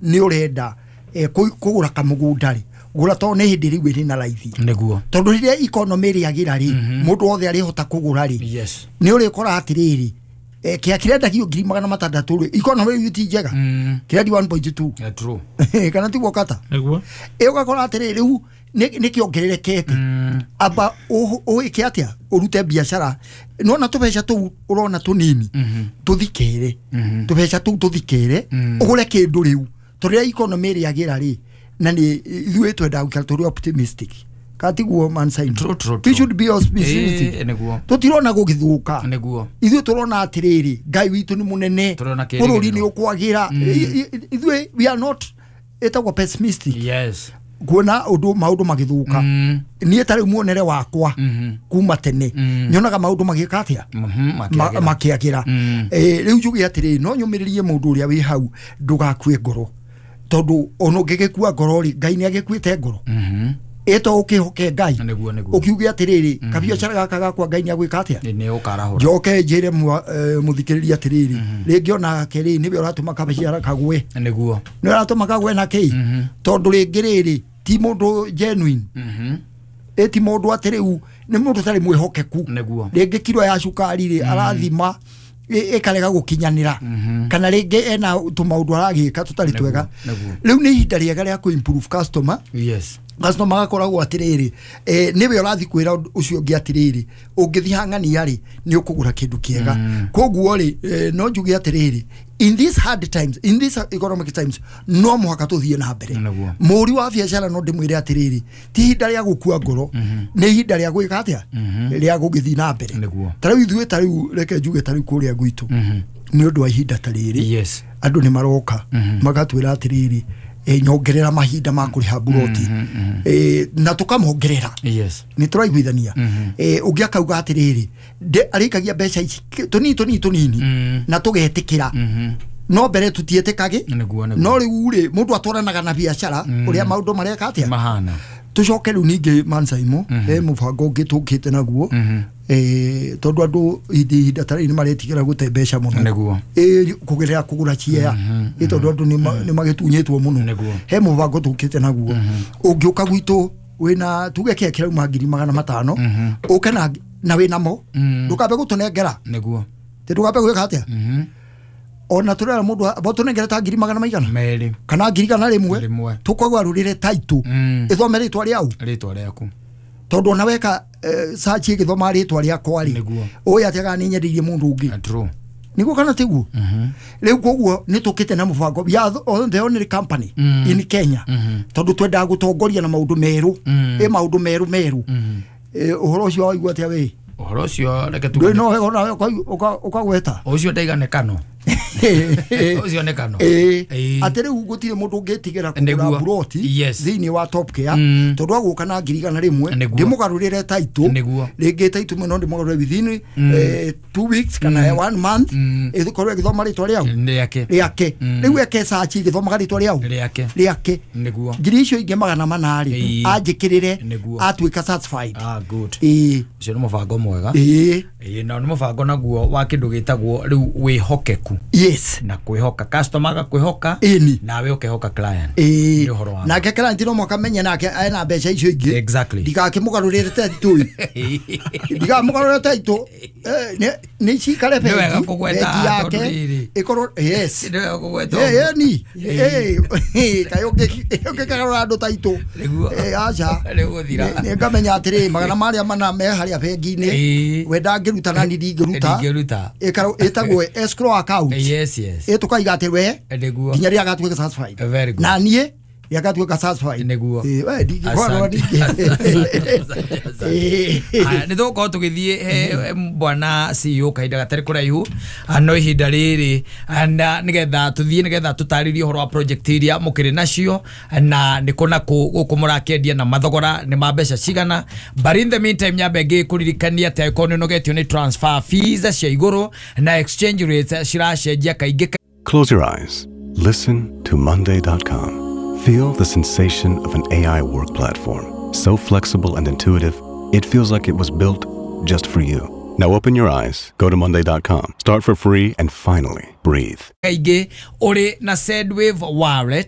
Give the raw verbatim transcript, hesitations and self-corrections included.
Nĩ ũrenda eh, kũ- kũgũra kamũgũnda rĩ, gũra, tondũ nĩ hĩndĩ rĩu ĩrĩ na raithi. Nĩguo. Tondũ rĩrĩa economy ĩrĩagĩra rĩ, mũndũ wothe arĩhota kũgũra rĩ, yes nĩ ũrĩkora atĩrĩrĩ, eh, kĩa kĩrendagio ngiri magana matandatũ rĩ, economy rĩu ti njega, Mm. kĩrendio one point two. Yeah, true. Kana tiguo kata? Nĩguo. Ĩ, ũgakora atĩrĩrĩ, rĩu nĩ nĩ kĩongererekete. Mm. Amba ũ- ũĩke atĩa, ũrute biacara nona tũbeca tũu ũrona tũnini tũthikĩre, tũbeca tũu tũthikĩre, ũgũre kĩndũ rĩu, tondũ rĩrĩa economy ĩrĩagĩra rĩ, na nĩ ithuĩ twendaga gũikara tũrĩ optimistic, katiguo man sign? True, true, We true. should be optimistic. Ĩ, nĩguo. Tũtirona gũgĩthũka. Nĩguo. Ithuĩ tũrona atĩrĩrĩ, Ngai witũ nĩ mũnene. Tũrona kĩrĩgĩrĩro. Bũrũri nĩ ũkwagĩra. I- i- ithuĩ we are not, ĩtagwo pessimistic, yes kuona ũndũ maũndũ magĩthũka. Mm. Niĩ ta rĩu muonere wakwa Mhm. kuma tene, Mm. nyonaga maũndũ magĩka atĩa? Mhm, Ma- makĩagĩra. Makĩagĩra. Mm. Eh, rĩu njuge atĩrĩrĩ, no nyũmĩrĩrie mũndũ ũrĩa wĩ hau, ndũgakue ngoro, tondũ ona ũngĩgĩkua ngoro rĩ, Ngai nĩ agĩkuĩte ngoro. Mhm. Ĩto ũkĩhoke Ngai. Nĩguo, nĩguo. Ũkiuge atĩrĩrĩ, kabiacara gaka gakwa Ngai nĩ agwĩka atĩa? Nĩ ũkarahũra. Njoke njĩre mwa- eh, mũthikĩrĩria atĩrĩrĩ, rĩngĩ onake rĩ, nĩwe ũratũma kabiacara kagwe. Nĩguo. Nĩ ũratũma kagwe na kĩ? Tondũ rĩngĩ rĩrĩ ti mũndũ genuine. Mhm. Ĩ, ti mũndũ atĩ rĩu nĩ mũndũ ũtarĩ mwĩhokeku. Nĩguo. Rĩngĩ kiro ya cukari rĩ, arathima ĩ- ĩkarega gũkinyanĩra, kana rĩngĩ ena tũmaũndũ aragĩka tũtarĩ Nĩguo, twega. nĩguo. Rĩu nĩ ihinda rĩega rĩa kũ improve customer. Yes Customer agakoragwo atĩrĩrĩ, eh, nĩwe ũrathiĩ kwĩra ũndũ ũcio ũngĩ atĩrĩrĩ, ũngĩthiĩ hang'ania rĩ, nĩ ũkũgũra kĩndũ kĩega. Koguo rĩ, eh, no njuge atĩrĩrĩ, in these hard times, in these economic times, no mũhaka tũthiĩ na mbere. Nĩguo. Mũri wa biacara, no ndĩmwĩre atĩrĩrĩ, ti ihinda rĩa gũkua ngoro, nĩ ihinda rĩa gwĩka atĩa? Rĩa gũgĩthiĩ na mbere. Nĩguo. Ta rĩu ithuĩ, ta rĩu reke njuge, ta rĩu kũrĩa gwitũ, nĩ ũndũ wa ihinda ta rĩrĩ, yes andũ nĩ maroka magatwĩra atĩrĩrĩ, e, nyongerera mahinda ma kũrĩha mburoti, e, na tũkamongerera. Yes nĩ tũraiguithania? e, ũngĩ akauga atĩrĩrĩ, nde- arĩkagia mbeca ici tũnini tũnini tũnini, Mm. na tũgetĩkĩra, no mbere tũtiĩtĩkagĩ. Nĩguo, nĩguo. No rĩu rĩ, mũndũ atwaranaga na biacara ũrĩa maũndũ mareka atĩa mahana. Tũcoke rĩu ningĩ mansaimo, he mũbango ũngĩ tũkĩte naguo, eh, tondũ andũ ihinda ihinda ta rĩrĩ nĩ maretigĩra gũte mbeca mũno. Nĩguo. Ĩ, kũgerera kũgũra ciea, ĩ, tondũ andũ nĩ nĩ magĩtunyĩtwo mũno. Nĩguo. He mũbango tũkĩte naguo, ũngĩũka gwitũ wĩna tuge kĩa kĩrauma ngiri magana matano, ũke na na wĩnamo, ndũkambe gũtũnengera. Nĩguo. Tĩ ndũkambe gwĩka atĩa? Ona tũrera mũndũ amba ũtũnengere ta ngiri magana maigana Merĩ. kana ngiri igana rĩmwe, Rĩmwe. tũkũgarũrĩre taitũ, Mm. ĩthome rĩtwa rĩau. Rĩtwa rĩaku. Tondũ ona weka eh, search ĩgĩthoma rĩtwa rĩakwa rĩ, Nĩguo. ũĩ atĩa kana nĩ nyendeirie mũndũ ũngĩ? Ah, true. Nĩguo kana tiguo? Rĩu koguo nĩ tũkĩte na mũbango, we are the- the only company in Kenya, tondũ twendaga gũtongoria na maũndũ merũ, ĩ, maũndũ merũ merũ. Eh, ũhoro ũcio waigua atĩa we? Ũhoro ũcio reke Ndũĩ tuge no wega ona ũkagweta. Ũcio ndaiga nĩ kano, ũcio nĩ kano. Ĩĩ. Ĩĩ. Atĩ rĩu gũtirĩ mũndũ ũngĩtigĩra kũgũra Nĩguo. mburoti Yes. thĩinĩ wa Top Care, Mm. tondũ agũka na ngiri igana rĩmwe, Nĩguo. ndĩmũgarũrĩre taitũ. Nĩguo. Rĩngĩ taitũ no ndĩmũgarũrĩre within eh, two weeks kana one month, Mm. ĩkorwo ĩgĩthoma rĩtwa rĩau. Rĩake. Rĩake. Rĩu eke search ĩgĩthomaga rĩtwa rĩau. Rĩake. Rĩake. Nĩguo. Ngiri icio ingĩ magana mana rĩ, Ĩĩ. anjĩkĩrĩre, Nĩguo. atuĩka satisfied. Ah, good. Ĩĩ. Ũcio nĩ mũbango mwega. Ĩĩ. Ĩĩ, na nĩ mũbango naguo wa kĩndũ gĩtagwo rĩu wĩhokeku yes na kwĩhoka customer, agakwĩhoka, Ĩni. nawe ũkehoka client. Ĩĩ. Nĩ ũhoro wa Nake client no mũhaka menye nake ena mbeca icio ingĩ. Exactly. Ndigakĩmũgarũrĩre taitũ, ndigamũgarũrĩre taitũ, Eh, nĩ- nĩ cikare Nĩ wega bengi kũgweta bengi tondũ yake rĩrĩ. ĩkorwo, yes. Nĩ wega kũgweta Eh, ũguo. ĩni kaĩ ũngĩkarora andũ taitũ? Nĩguo. Eh, aca. Nĩgũthira. Nĩ- nĩ ngamenya atĩrĩ, magana marĩa mana me harĩa bengi-inĩ, Ĩĩ. we ndangĩruta na ni ndingĩruta. Ndingĩruta. Ĩkarwo- ĩtagwo escrow account. yes yes Ĩ, tũkaiga atĩ we Nĩguo. nginya rĩrĩa agatuĩka satisfied. Very good. Na niĩ rĩrĩa agatuĩka satisfied. Nĩguo. Ĩ, we ndingĩkorwo Asante. ndingĩ. Aya, nĩ tũgũkorwo tũgĩthiĩ he bwana C E O kahinda gatarĩ kũraihu. Ah, no ihinda rĩrĩ, ah, na nĩgetha tũthiĩ nĩgetha tũtarĩrie ũhoro wa project iria mũkĩrĩ nacio na nĩ kũ na kũ gũkũ mũrakĩendia na mathogora nĩ ma mbeca cigana. But in the meantime, nyambe ngĩkũririkania atĩ angĩkorwo nĩ ũnogetio nĩ transfer fees cia igũrũ na exchange rates ciracenjia kaingĩ. Close your eyes. Listen to Monday dot com. Feel the sensation of an A I work platform. So flexible and intuitive, it feels like it was built just for you. Now open your eyes, go to Monday dot com, start for free, and finally breathe. Kaingĩ ũrĩ na Sendwave Wallet.